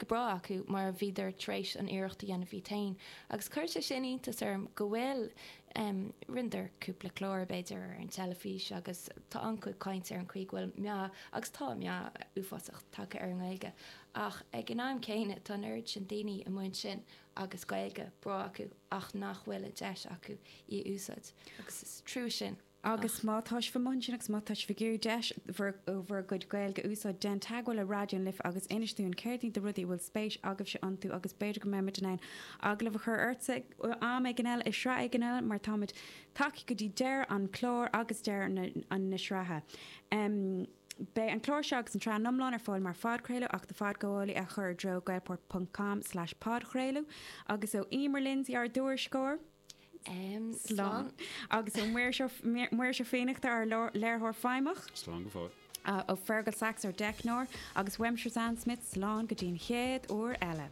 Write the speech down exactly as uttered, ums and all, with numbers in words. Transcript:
Gaeilge breá acu mar bhíodar tar éis an iarracht a dhéanamh iad féin. Agus chuir sé sin iontas orm go bhfuil um, rinneadar cúpla clár b'fhéidir ar an teilifís agus tá an-chuid cainte ar an chaoi go bhfuil meath agus tá meath uafásach tagtha ar an nGaeilge. Ach ag an am céanna tá an oiread sin daoine amuigh ansin agus Gaeilge breá acu ach nach bhfuil an deis acu í a úsáid. Agus is trua sin. Agus má tá sibh amuigh ansin agus má tá sibh ag iarraidh deis bhur bhur gcuid Gaeilge a úsáid, déan teagmháil le Raidió na Life agus inis dúinn céard iad na rudaí a bhfuil spéis agaibhse iontu agus b'fhéidir go mbeimid in ann agallamh a chur ortsa am éigin eile i sraith éigin eile mar táimid tagtha go dtí deireadh an chláir agus deireadh na, an, na sraithe. Um, Beidh an clár seo agus an tsraith iomlán ar fáil mar phodchraoladh ach do phodghabhálaí a chur i dtreo gaelport.com slash podchraoladh agus ó Emer Lindsay ár dtuairisceoir. Um, Slán. Agus ó Muiris Ó Fiannachta ár léiritheoir feidhmeach. Slán go fóill. Ó Fergal Sachs ár dteicneoir agus uaimse Roseanne Smith slán go dtí an chéad uair eile.